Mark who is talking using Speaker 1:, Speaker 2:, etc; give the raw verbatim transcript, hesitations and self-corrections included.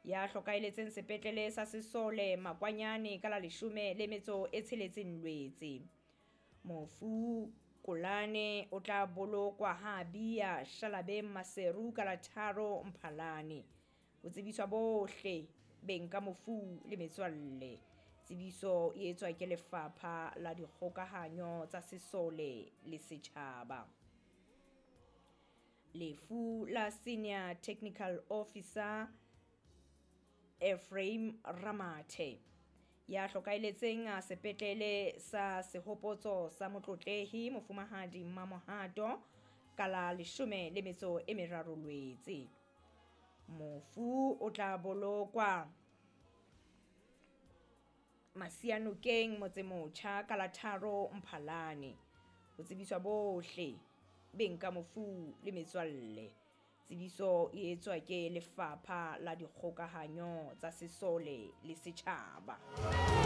Speaker 1: Ya hlokaheletseng sepetlele sa Sesole Makwanyane ka la leshome le metso e tsheletseng Lwetse. Mofu Kolane o tla bolokwa ha Bia Shalabeng Maseru ka la tharo Mphalane. Ho tsebiswa bohle beng ka mofu le metswalle. Tsebiso e etswa ke Lefapha la Dikgokahanyo tsa Sesole le Setjhaba. Lefu la Senior Technical Officer Ephraim Ramathe, ya hlokaheletseng sepetlele sa Sehopotso sa Motlotlehi Mofumahadi Mmamohato ka la leshome le metso e meraro Lwetse. Mofu o tla bolokwa Masianokeng Motsemotjha ka la tharo Mphalane. Ho tsebiswa bohle beng ka mofu le metswalle. Tsebiso e etswa ke Lefapha la Dikgokahanyo tsa Sesole le Setjhaba.